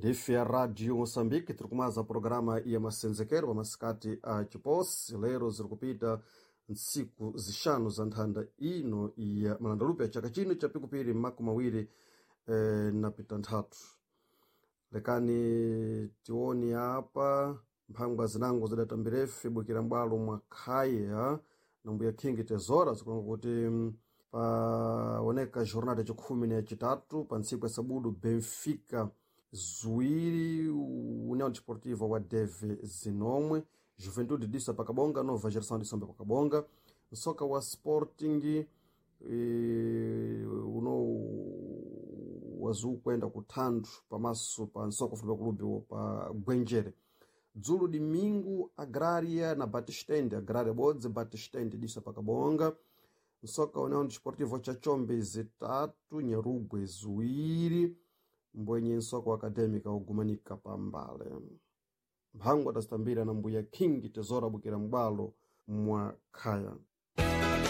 Ndife ya Radio Moçambique, tiri kumaza programa ya masenzekero pa masikati a chiposi. Lero ziri kupita ntsiku zixanu za nthanda ino ya malandalupe ya chaka chino cha pikupiri makumi awiri na pitanthatu. Lekani tione apa mphangwa zinango zidatambirefe bwikira m'bwalo mwa khaya na mbuya King Tezora, zikulonga kuti paoneka jornada yacikhumi na yacitatu pa ntsiku ya sabudu: Benfica 2, União Desportiva wa Deve 9, Juventude disa pakabonga, Nova Geração de Samba pakabonga. Nsoka wa Sporting uno wazukwenda kuthandu pamaso pa nsoka futebol clube pa Gwenjere. Dzulo domingo, Agrária na Batistende, Agrária bodzi, Batistende disa pakabonga. Nsoka União Desportivo cha Chombe 3, Nyarugwe 2, mbwenye nsoka wa Acadêmica ugumanika pambale. Mphangwa tazitambira na mbuya King Tezora bwikira m'bwalo mwa khaya.